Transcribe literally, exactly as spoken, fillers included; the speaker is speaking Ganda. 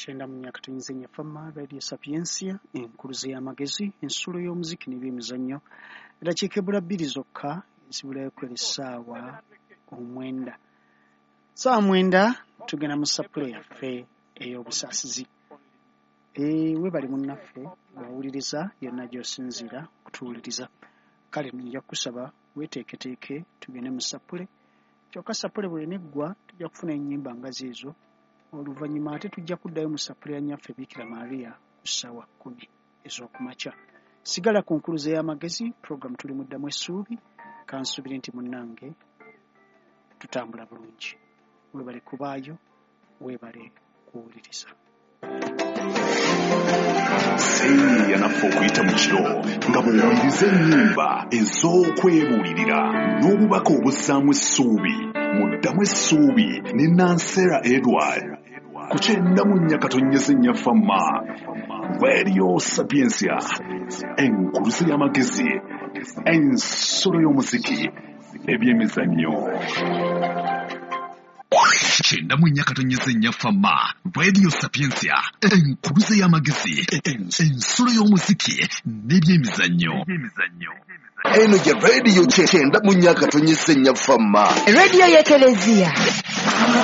Kyenda mu myaka tuyinza ennyafama Radio Sapientia, enkuluze y'amagezi, ensulo y'omuziki n'ebyemizannyo. Eddakiika ebula bbiri zokka ezibulayo kwera essaawa omwenda. Ssaawa mwenda tugenda mu sapule yaffe ey'obusaasizi. E, weebale munnaffe bw'awuliriza yonna gy'osinziira okutuwuliriza. Kale nja kukusaba weeteeketeeke tugende mu sapule. Kyokka sapule bw'eneggwa tujja kufuna ennyimba nga zeezo. Oluvannyuma ate tujja kuddayo mu sapule ya nnyaffe Bikira Maria ku ssaawa kkumi ez'okumakya. Sigala ku nkuluze y'amagezi, program tuli mu Ddamu Essuubi. Kansuubire nti munnange tutambula bulungi. Weebale kubaayo, weebale kuwuliriza. Seeyeeya naffe okuyita mu kiro nga bw'owuliriza ennyimba ez'okwebuulirira n'obubaka obuzzaamu essuubi mu Ddamu Essuubi ne Nansera Edward ku kyenda mu nnya katonnyeze nnya Fama Radio Sapientia, enkuluze y'amagezi, ensolo y'omuziki n'ebyemizannyo. Kyenda mu nnya katonnyeze nnya Fama Radio Sapientia, enkuluze y'amagezi, ensulo y'omuziki n'ebyemizannyo. Eno ye radio kyenda mu nnya katonnyeze nnya Fama, Radio y'Ekereziya.